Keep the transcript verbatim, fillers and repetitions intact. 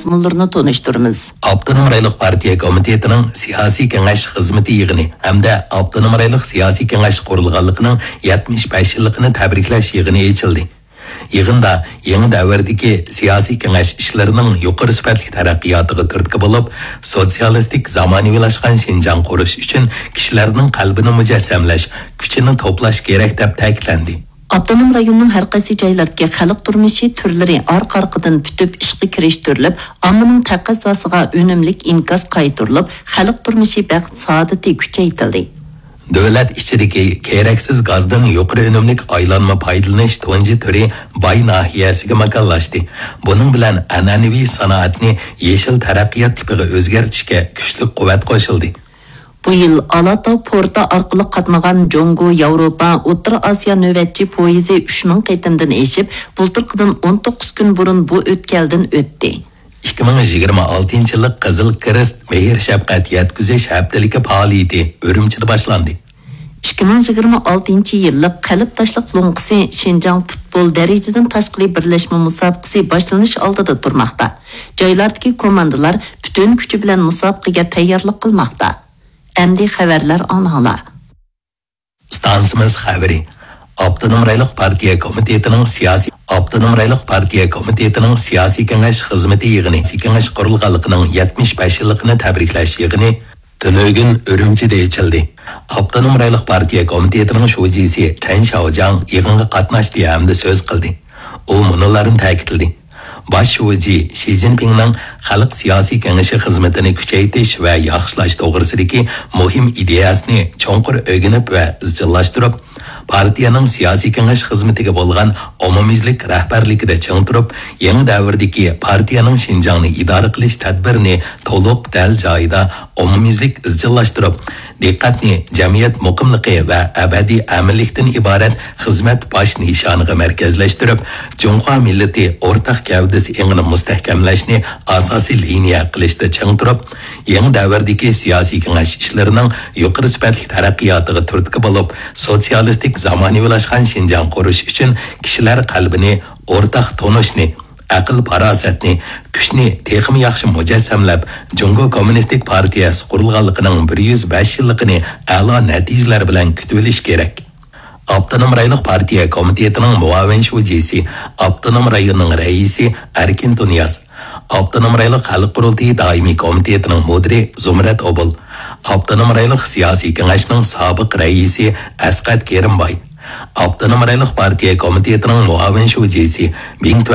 مەزمۇنلىرىنى تونۇشتۇرىمىز. ئاپتونوم رايونلۇق پارتىيە كومىتېتىنىڭ سىياسىي كېڭەش خىزمىتى يىغىنى ھەمدە ئاپتونوم رايونلۇق سىياسىي كېڭەش قۇرۇلغانلىقىنىڭ يەتمىش بەش يىللىقىنى تەبرىكلەش يىغىنى ئېچىلدى. يىغىندا يېڭى دەۋردىكى سىياسىي كېڭەش ئىشلىرىنىڭ يۇقىرى سۈپەتلىك تەرەققىياتىغا تۈرتكە بولۇپ، سوتسىيالىستىك زامانىۋىلاشقان شىنجاڭ قۇرۇش ئۈچۈن كىشىلەرنىڭ قەلبىنى مۇجەسسەملەش، كۈچىنى توپلاش كېرەك، دەپ تەكىتلەندى. ئاپتونوم رايوننىڭ ھەر قايسى جايلىرىدىكى خەلق تۇرمۇشى تۈرلىرى ئارقا-ئارقىدىن پۈتۈپ ئىشقا كىرىشتۈرۈلۈپ، ئاممىنىڭ تەقەززاسىغا ئۈنۈملۈك ئىنكاس قايتۇرۇلۇپ، خەلق تۇرمۇشى بەخت-سائادىتى كۈچەيتىلدى. دۆلەت ئىچىدىكى كېرەكسىز گازدىن يۇقىرى ئۈنۈملۈك ئايلانما پايدىلىنىش تۇنجى تۈرى باي ناھىيەسىگە ماكانلاشتى. بۇنىڭ بىلەن ئەنئەنىۋى سانائەتنى يېشىل تەرەققىيات تىپىغا ئۆزگەرتىشكە كۈچلۈك قۇۋۋەت قوشۇلدى. بۇ يىل ئالاتاۋ پورتى ئارقىلىق قاتنىغان جۇڭگو، ياۋروپا، ئوتتۇرا ئاسىيا نۆۋەتچى پويىزى ئۈچ مىڭ قېتىمدىن ئېشىپ، بۇلتۇرقىدىن ئون توققۇز كۈن بۇرۇن بۇ ئۆتكەلدىن ئۆتتى. ئىككى مىڭ يىگىرمە ئالتىنچى يىللىق قىزىل كىرېست مېھىر شەپقەت يەتكۈزۈش ھەپتىلىكى پائالىيىتى ئۈرۈمچىدە باشلاندى. ئىككى مىڭ يىگىرمە ئالتىنچى يىللىق قەلب تاشلىق لوڭقىسى شىنجاڭ پۇتبول دەرىجىدىن تاشقىرى بىرلەشمە مۇسابىقىسى باشلىنىش ئالدىدا تۇرماقتا. جايلاردىكى كوماندىلار پۈتۈن كۈچى بىلەن مۇسابىقىگە تەييارلىق قىلماقتا. ئەمدى خەۋەرلەر ئاڭلاڭلار. ئىستانسىمىز خەۋىرى. ئاپتونوم رايونلۇق پارتىيە كومىتېتىنىڭ سىياسىي، ئاپتونوم رايونلۇق پارتىيە كومىتېتىنىڭ سىياسىي كېڭەش خىزمىتى يىغىنى، سىياسىي كېڭەش قۇرۇلغانلىقىنىڭ يەتمىش بەش يىللىقىنى تەبرىكلەش يىغىنى تۈنۈگۈن ئۈرۈمچىدە ئېچىلدى. ئاپتونوم رايونلۇق پارتىيە كومىتېتىنىڭ شۇجىسى چەن شياۋجياڭ يىغىنغا قاتناشتى ھەمدە سۆز قىلدى. ئۇ مۇنۇلارنى تەكىتلىدى. باش شۇجى شى جىنپىڭنىڭ خەلق سىياسىي كېڭىشى خىزمىتىنى كۈچەيتىش ۋە ياخشىلاش توغرىسىدىكى مۇھىم ئىدىيەسىنى چوڭقۇر ئۆگىنىپ ۋە ئىزچىللاشتۇرۇپ، پارتىيەنىڭ سىياسىي كېڭەش خىزمىتىگە بولغان ئومۇميۈزلۈك رەھبەرلىكىدە چىڭ تۇرۇپ، يېڭى دەۋردىكى پارتىيەنىڭ شىنجاڭنى ئىدارە قىلىش تەدبىرىنى تولۇق، دەل جايىدا، ئومۇميۈزلۈك ئىزچىللاشتۇرۇپ، دىققەتنى جەمئىيەت مۇقىملىقى ۋە ئەبەدىي ئەمىنلىكتىن ئىبارەت خىزمەت باش نىشانىغا مەركەزلەشتۈرۈپ، جۇڭخۇا مىللىتى ئورتاق گەۋدىسى ئېڭىنى مۇستەھكەملەشنى ئاساسىي لىنىيە قىلىشتا چىڭ تۇرۇپ، يېڭى دەۋردىكى سىياسىي كېڭەش ئىشلىرىنىڭ يۇقىرى سۈپەتلىك تەرەققىياتىغا تۈرتكە بولۇپ، سوتسىيالىستىك زامانىۋىلاشقان شىنجاڭ قۇرۇش ئۈچۈن كىشىلەر قەلبىنى، ئورتاق تونۇشنى، ئەقىل-پاراسەتنى، كۈچنى تېخىمۇ ياخشى مۇجەسسەملەپ، جۇڭگو كوممۇنىستىك پارتىيەسى قۇرۇلغانلىقىنىڭ بىر يۈز بەش يىللىقىنى ئەلا نەتىجىلەر بىلەن كۈتۈۋېلىش كېرەك. ئاپتونوم رايونلۇق پارتىيە كومىتېتىنىڭ مۇئاۋىن شۇجىسى، ئاپتونوم رايوننىڭ رەئىسى ئەركىن تۇنىياز، ئاپتونوم رايونلۇق خەلق قۇرۇلتىيى دائىمىي كومىتېتىنىڭ مۇدىرى زۇمرەت ئوبۇل، ئاپتونوم رايونلۇق سىياسىي كېڭەشنىڭ سابىق رەئىسى ئەسقەت كېرىمباي، ئاپتونوم رايونلۇق پارتىيە كومىتېتىنىڭ مۇئاۋىن شۇجىسى بىڭ